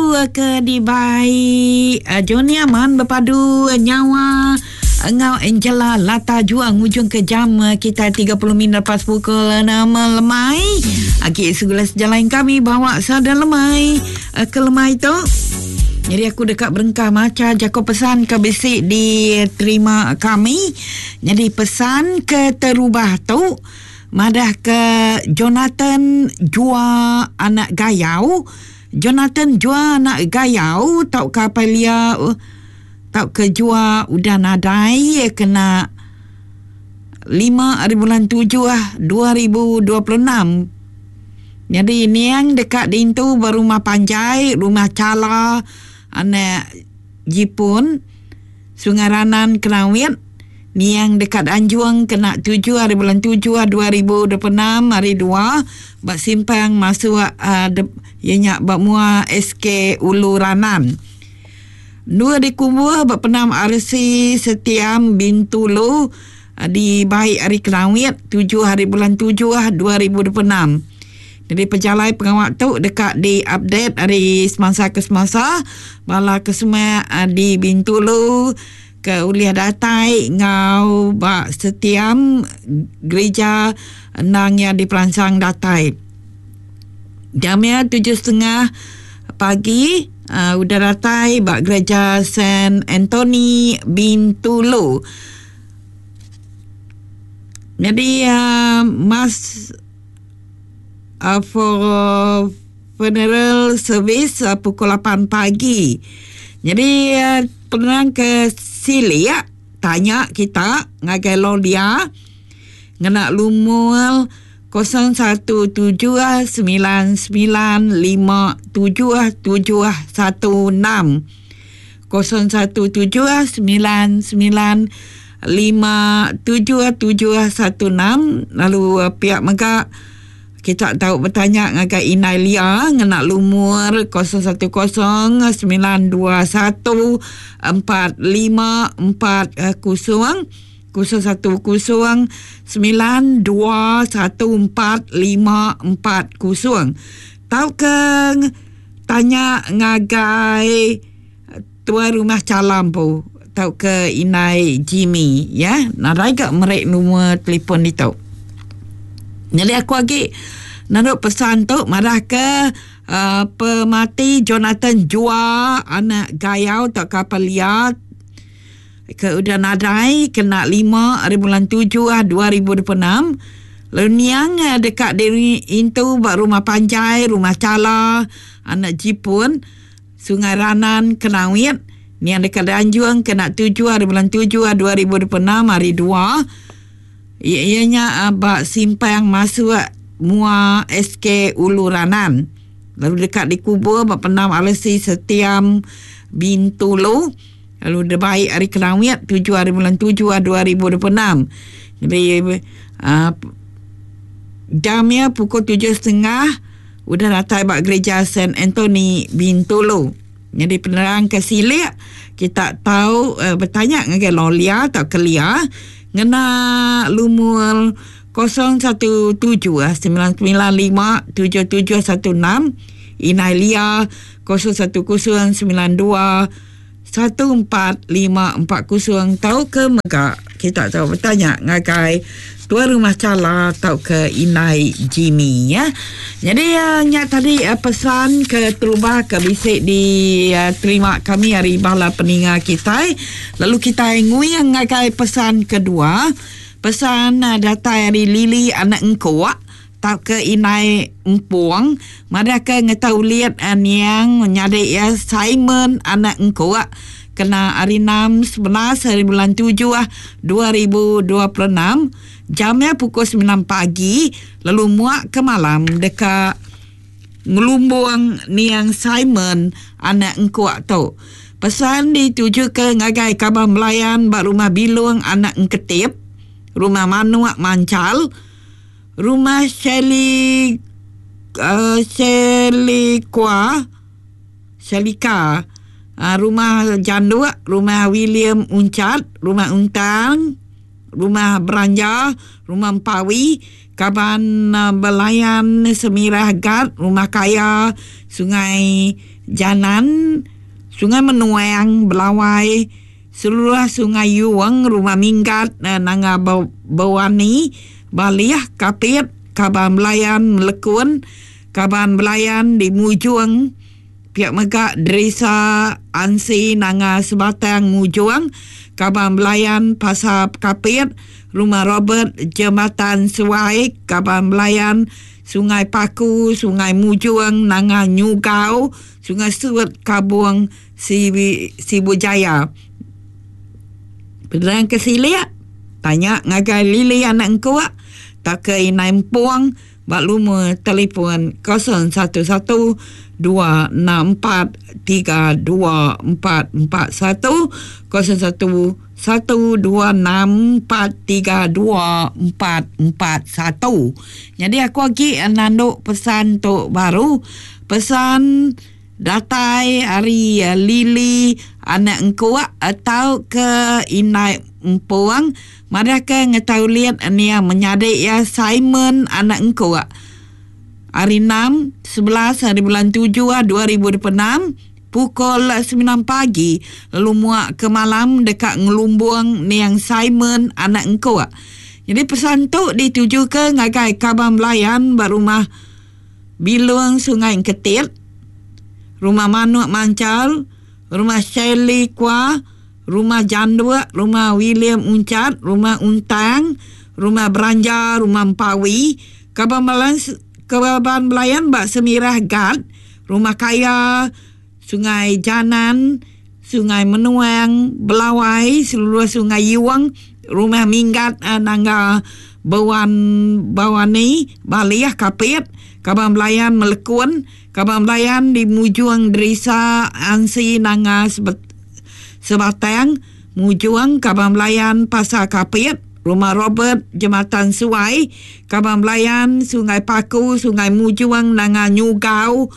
lagu ke dibai Johnny Aman bepadu nyawa enggau Angela Lata Jua ngujung ke jam kita 30 minit lepas pukul 6 lemai. Agi segula sejalai kami bawa sada lemai ke lemai tu. Jadi aku deka berengkah macha jako pesan ke bisi diterima kami. Jadi pesan ke terubah tu madah ke Jonathan Jua anak Gayau. Jonathan Jua anak Gayau tauka apai lia tauka Jua udah nadai kena lima ari bulan tujuh 2026. Nyadi niang deka diintu ba rumah panjai Rumah Chala anak Jipun, Sungai Ranan Kenawit. Niang deka dianjung kena tujuh ari bulan tujuh 2026 hari dua ba simpang masuk iya nya ba mua SK Ulu Ranan. Endur dikubuh ba Pendam RC Setiam Bintulu dibai ari Kenawit tujuh hari bulan tujuh 2026. Jadi pejalai pengawa tu deka diupdate ari semasa ke semasa bala ke semak di Bintulu ke ulih datai enggau ba setiam gerija endang iya diperansang datai. Jam iya 7.30 pagi udah datai ba gereja Saint Anthony Bintulu. Nyadi mas for funeral service pukul 8 pagi. Nyadi penerang ke silik tanya kita ngagai Lolia ngena lumur 0179957716. 0179957716 lalu pia mega kita tau betanya ngagai Indai Lia ngena lumur 0109214540 0109214540 tauka tanya ngagai Tuai Rumah Chalam empu tauka Indai Jimmy ya nadai ga meri lumur telefon ditu. Nyadi aku agi naru pesan tu madah ke uhh pemati Jonathan Jua anak Gayau tauka Apai Lia ke udah nadai kena lima ari bulan tujuh 2026 lalu niang deka diintu ba rumah panjai Rumah Chala anak Jipun. Sungai Ranan, Kenawit, niang deka dianjung kena tujuh ari bulan tujuh 2026 hari dua iya nya ba simpang masuk mua SK Ulu Ranan lalu deka dikubur ba Pendam RC Setiam Bintulu lalu dibai ari Kenawit tujuh ari bulan tujuh 2026. Jadi uh, jam iya pukul 7.30 Udah datai ba Gerija Saint Anthony Bintulu. Nyadi penerang ke silik kita tau betanya ngagai Lolia tauka Lia ngena lumur 017 995 7716 Inai Lia 010 92 14540 tauka mega kita tau betanya ngagai Tuai Rumah Chala tauka Indai Jimmy ya. Jadi nya tadi pesan ke terubah ke bisi diterima kami ari bala peninga kitai lalu kitai nguing ngagai pesan kedua. Pesan datai ari Lily anak Engkuk. Tauka indai Empung madahka ngetau ulit niang menyadi iya Simon anak Engkuk kena hari enam 11 hari bulan tujuh 2026 jam iya pukul semilan pagi lalu muak ke malam deka ngelumbung niang Simon anak Engkuk tu. Pesan ditujuka ngagai kaban belayan ba Rumah Bilung anak Engketip, Rumah Manuk Manchal, Rumah Shelly uh, Shelly Kwa Shelika uh, Rumah Janduk, Rumah William Uncat, Rumah Untang. Rumah Beranja, Rumah Empawi, Kaban Belayan Semirah Gat, Rumah Kaya, Sungai Janan, Sungai Menuang, Belawai, Seluruh Sungai Yuong, Rumah Minggat, Nanga Bewani, Balih, Kapit, Kaban Belayan Melekun, Kaban Belayan di Mujong, pia mega Derisa Ansi Nanga Sebatang Mujong, Kaban Belayan Pasar Kapit, Rumah Robert Jematan Suai, Kaban Belayan Sungai Paku, Sungai Mujong, Nanga Nyugau, Sungai Suet Kabong, Sibu Jaya. Penerang ke silik, tanya ngagai Lily anak engkuk tauka Inai Empung ba lumur telefon 011 264 32441 011 264 32441. Nyadi aku agi nandu pesan tu baru. Pesan Datai ari Lily anak engkuk tauka indai Empung madahka ngetau ulit nia menyadi iya Simon anak engkuk. Hari enam, 11 haribulan tujuh 2026 pukul semilan pagi lalu muak ke malam deka ngelumbung niang Simon anak engkuk. Nyadi pesan tu ditujuka ngagai kaban belayan ba rumah Bilung Sungai Engketit, Rumah Manuk Manchal, Rumah Shirley Kwa, Rumah Janduk, Rumah William Unchat, Rumah Untang, Rumah Beranja, Rumah Empawi, Kaban Belayan Kaban Belayan ba Semirah Gat, Rumah Kaya, Sungai Janan, Sungai Menuang, Belawai, seluruh Sungai Yuang, Rumah Minggat Nangga Bewan Bawani, Balih, Kapit, Kaban Belayan Melekun, Kaban Belayan di Mujung Derisa Ansi Nanga Sebatang, Mujung, Kaban Belayan Pasar Kapit, Rumah Robert Jematan Suai, Kaban Belayan Sungai Paku, Sungai Mujung Nanga Nyugau,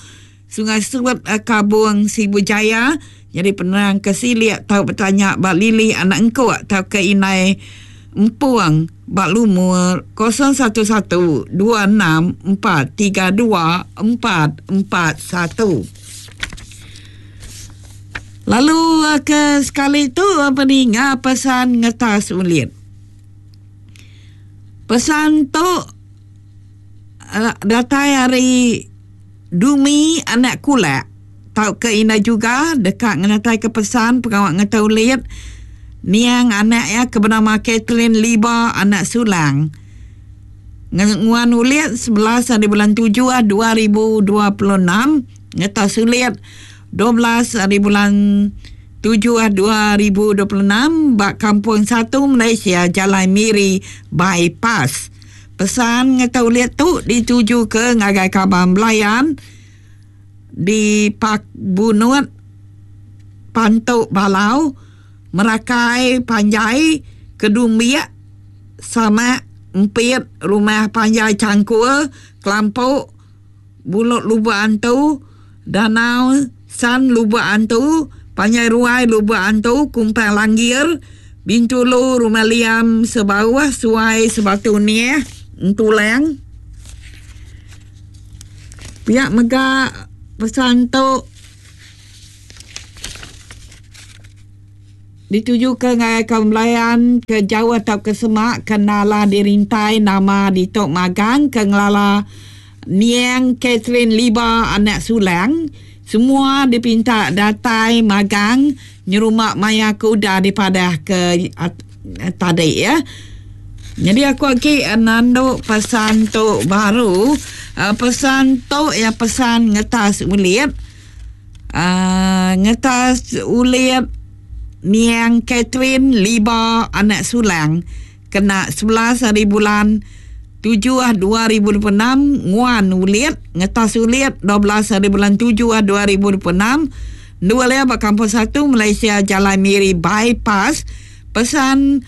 Sungai Suet Kabung Sibu Jaya nyadi penerang ke silik tau betanya ba Lily anak engkuk tauka indai Empung ba lumur 011 26 432 441. Lalu ke sekali tu peninga pesan ngetas ulit. Pesan tu datai ari Dumi anak Kulak tauka indai juga deka ngenataika pesan pengawa ngetau ulit niang anak iya ke benama Kathleen Liba anak Sulang. Nguan ulit 11 hari bulan 7 2026 ngetau sulit 12 hari bulan 7 2026 ba Kampung Satu Malaysia Jalai Miri Bypass. Pesan ngetau ulit tu ditujuka ngagai kaban belayan di Pak Bunut, Pantu Balau, Merakai Panjai, Kedumbik, Samak, Empit, Rumah Panjai Changkul, Kelampok, Bulok Lubok Antu, Danau San Lubok Antu, Panjai Ruai Lubok Antu, Kumpang Langgir, Bintulu, Rumah Liam, Sebauh, Suai, Sebatu Niah, Entulang. Pia mega pesan tu Ditujuka ngagai kaum belayan ke jauh tauka semak ke nala dirintai nama ditu magang ke ngelala Niang Catherine Liba anak Sulang. Semua dipinta datai magang nyerumba maya ke udah dipadah ke tadi ya. Nyadi aku agi nandu pesan tu baru. Pesan tu iya pesan ngetas ulit. Aaa ngetas ulit niang Catherine Liba anak Sulang kena 11 hari bulan 7 2026 nguan ulit ngetas ulit 12 hari bulan 7 2026 endur iya ba Kampung Satu Malaysia Jalai Miri Bypass pesan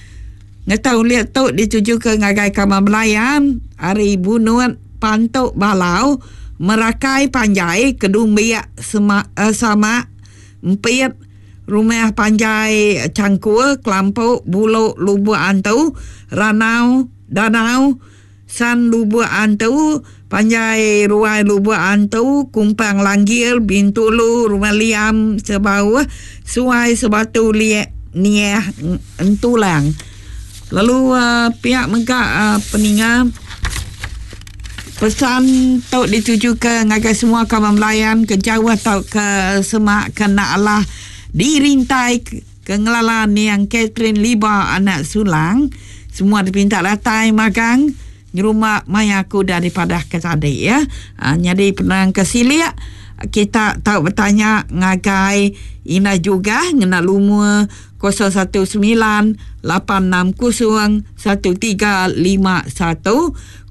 ngetas ulit tu ditujuka ngagai Kaban Belayan ari Bunut Pantu Balau, Merakai Panjai, Kedumbik, Sema, Samak, Empit, Rumah Panjai Changkul, Kelampok, Bulok, Lubuk Antu, Ranau, Danau, San Lubuk Antu, Panjai Ruai Lubuk Antu, Kumpang Langgir, Bintulu, Rumah Liam, Sebauh, Suai Sebatu Liek Niah Entulang. Lalu pia mega peninga pesan tu ditujuka ngagai semua kaban belayan ke jauh tauka semak ke enda alah dirintai ke ngelala niang Catherine Liba anak Sulang. Semua dipinta datai magang nyerumba maya aku udah dipadahka tadi ya. Nyadi penerang ke silik kita tau betanya ngagai Indah Jugah ngena lumur 019 860 1351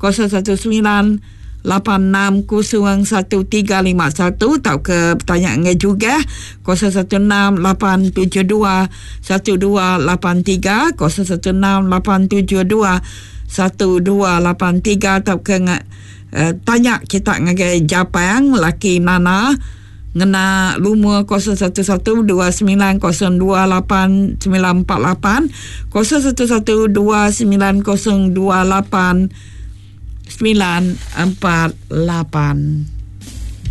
019 860 1351 tauka betanya enggau Jugah 016 872 1283 016 872 1283 tauka uh, tanya kita ngagai Japang laki Nana ngena lumur 011 2902 8948 011 2902 8948.